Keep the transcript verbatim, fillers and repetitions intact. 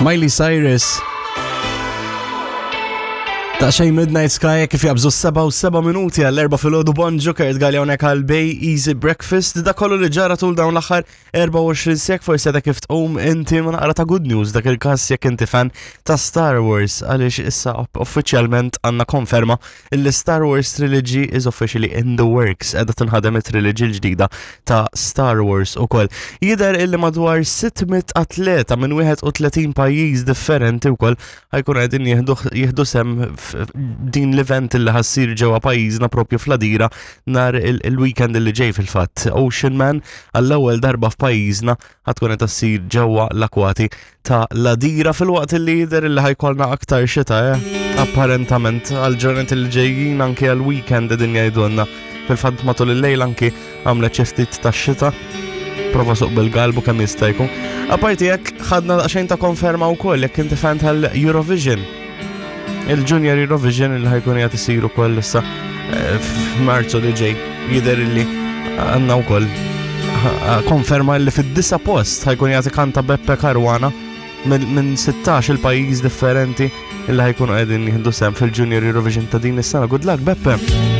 Miley Cyrus. Ta' xej Midnight Sky kif jabżu seba u seba minuti għall-erba filgħodu. Bonġu, Kurt Galea hawnhekk għal Bay Easy Breakfast. Da kollu li ġara tul dawn l-aħħar erbgħa u għoxrin sek, forsi da kif tqum inti ma naqra ta' good news dak il-każ jekk inti fan ta' Star Wars, għaliex issa uffiċjalment għandna konferma illi Star Wars Trilogy is officially in the works. Qiegħda tinħadem it-trilogy l-ġdida ta' Star Wars ukoll. Jidher illi madwar sitt mitt atleta minn wieħed u tletin pajjiż differenti wkoll ħa jkun qegħdin jieħdu jieħdu sem din l-event illi ħa ssir ġewwa pajjiżna, propju fl-Għadira, nhar il-weekend illi ġej fil-fatt. Ocean Man għall-ewwel darba f'pajjiżna ħa tkun qed issir ġewwa l-akwati ta' l-Għadira, filwaqt illi jidher illi ħa jkollna aktar xita, eh? Apparentament għal ġranet li ġejjin, anke għal-weekend din jgħidulna. Fil-fatt matul il-lejl anki għamlet xi ftit ta' xita, prova suq bil-galbu kemm jista' jkun. Apparti jekk, ħadna daqsxejn ta' konferma wkoll jekk inti fan tal-Eurovision. Il-Junior Eurovision il ħa jkun qed isir ukoll issa eh, f'Marzu li ġej, jidher illi għandna wkoll konferma li fid-disa post ħa jkun qed ikanta Beppe Caruana minn sittax il-pajjiż differenti illi ħa jkunu qegħdin jieħdu sehem fil-Junior Eurovision ta' din is-sena. Good luck, Beppe!